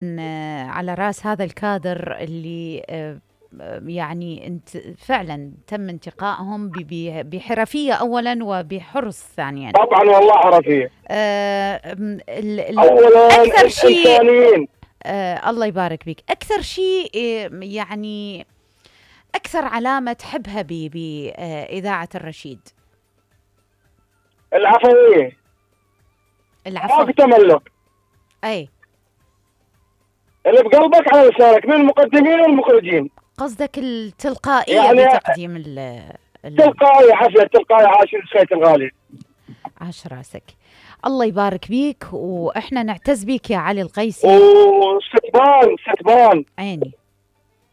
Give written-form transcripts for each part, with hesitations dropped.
على راس هذا الكادر اللي يعني انت فعلا تم انتقائهم بحرفية أولا وبحرص ثانيا. طبعا والله حرفية. أولا أكثر شيء الله يبارك بك، أكثر شيء يعني أكثر علامة تحبها بإذاعة الرشيد؟ العفوية. ما تملك. أي اللي بقلبك على لسانك من المقدمين والمخرجين. قصدك التلقائية يعني بتقديم تلقائي حفلة تلقائي. عاشر الخيط الغالي، عاش راسك، الله يبارك بيك، واحنا نعتز بيك يا علي القيسي. ستبان عيني،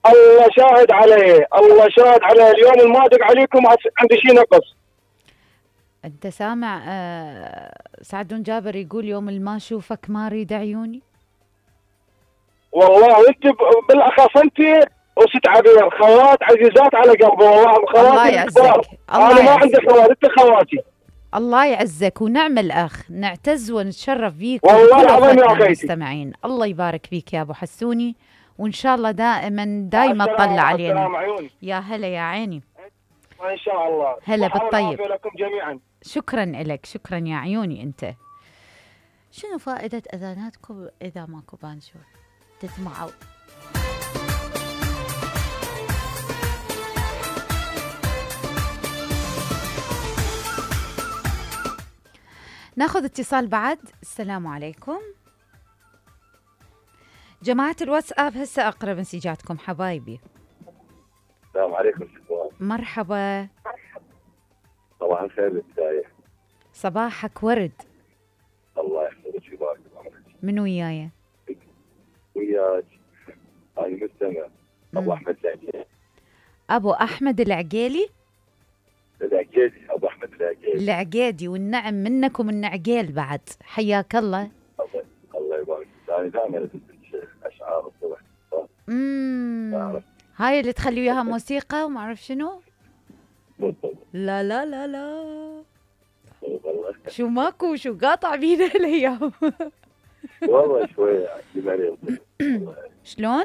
الله شاهد عليه، الله شاهد عليه. اليوم المادق عليكم عندي شيء نقص. انت سامع سعدون جابر يقول يوم ما اشوفك ما اريد عيوني. والله انت بالاخص انت وست عبير خوات عزيزات على قلبي، والله خواتي. الله يعزك. انا ما عندي خوات، انت خواتي. الله يعزك ونعمل اخ، نعتز ونتشرف بيك والله العظيم يا اخي. المستمعين الله يبارك فيك يا ابو حسوني، وان شاء الله دائما تطلع علينا. يا هلا يا عيني، ان شاء الله. هلا بالطيب لكم جميعا. شكرا لك، شكرا يا عيوني. انت شنو فائدة اذاناتكم اذا ماكو بانشور تسمعوا؟ ناخذ اتصال بعد. السلام عليكم جماعة الواتساب، هسه اقرا مسجاتكم حبايبي. السلام عليكم شكرا. مرحبا. صباح الخير بالبداية. صباحك ورد. الله يحفظك ويبارك بعمرك. من وياي؟ وياك هاي المستمع ابو احمد العقيلي. ابو احمد العقيلي؟ ابو احمد العقيدي، والنعم منك ومن عقيل بعد. حياك الله. الله يبارك. انا دائما اسمع اشعار الصبح. هاي اللي تخلي وياها موسيقى وما اعرف شنو. بالضبط. لا لا لا لا والله. شو ماكو شو قاطع بينا الايام. والله شويه مريض. شلون؟